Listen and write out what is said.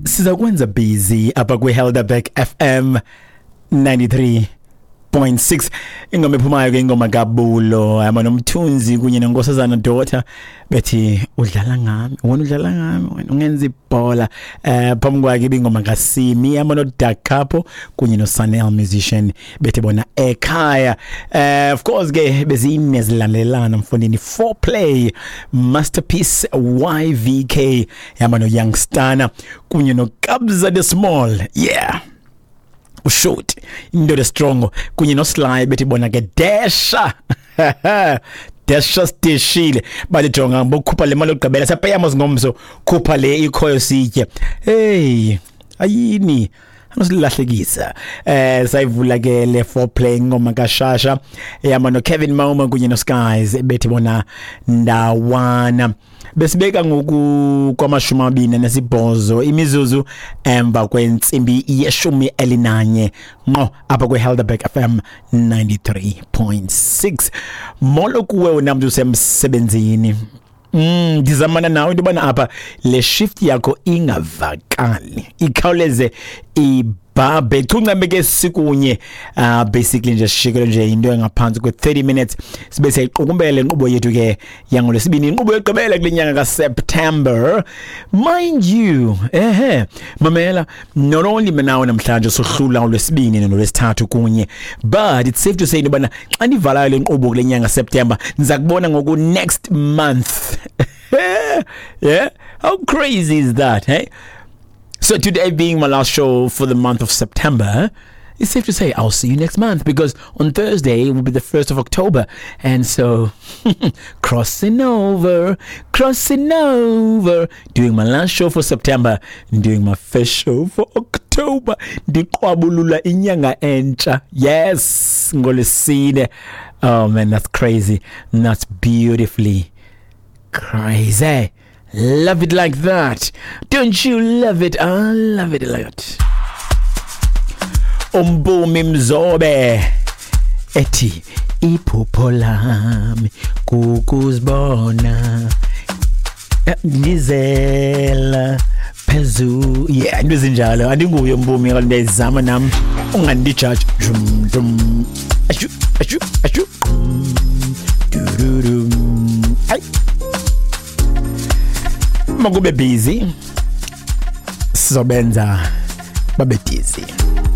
Siza kwenza busy apha kwiHelderberg FM 93.6. Ingoma ephumayo ke ingoma kaBulo hamba noMthunzi kunye noNkosazana Daughter, bethi udlala ngami wena, udlala ngami wena, ungenza ibhola. Phambi kwakhe ibingoma kaSimi hamba noDakapo kunye noSanel Musician, bethi bona ekhaya. Of course ke bezine zilandelana mfondini: Foreplay, Masterpiece, YVK hamba no Youngstana kunye noKabza the Small, yeah, ushoti indoda strong, kunye noSly, bethi bona ke desha desha stishile. Bathi jonga, bokhupha le mali yokugqibela, siyapeyama ngomso, khupha le ikhoyo sitye. Hey, ayini anosilahlekisa. Sayivula ke le Foreplay, ingoma kaShasha yama no Kevin Mauma kunye no Skies, bethi bona ndawana. Besibeka ngoku kwama-28 imizuzu emva kwentsimbi ye-11 ngqo apha kwiHelderberg FM 93.6. Molo kuwe wena mntu usemsebenzini. Ndizamana nawe into yobana apha le shift yakho ingavakali, ikhawuleze ibhabhe chuncame ke sikunye. Basically nje sishikele nje into engaphantsi kwe-30 minutes sibe siyayiqukumbela inkqubo yethu ke yangoLwesibini, inkqubo yokugqibela kule nyanga kaSeptember, mind you. Ehe, mamela, not only nawe namhlanje sohlula uLwesibini noLwesithathu kunye, but it's safe to say into yobana xa ndivalayo le nkqubo kule nyanga September, ndiza kubona ngoku next month. Yeah, how crazy is that, hey? So today being my last show for the month of September, it's safe to say I'll see you next month, because on Thursday will be the 1st of October. And so crossing over, crossing over, doing my last show for September, and doing my first show for October. Ndiqwabulula inyanga entsha. Yes, ngoLwesine. Oh man, that's crazy. That's beautifully crazy. Love it like that. Don't you love it? I love it a lot. Umbumi Mzobe ethi iphupho lami kukuzibona ndizela phezulu. Yeah, into ezinjalo. Andinguye uMpumi, kaloku ndiyayizama nam, ungandijaji. Dum dum ashu ashu ashu dududum. Ay, makube busy, sizobenza babe dizzy.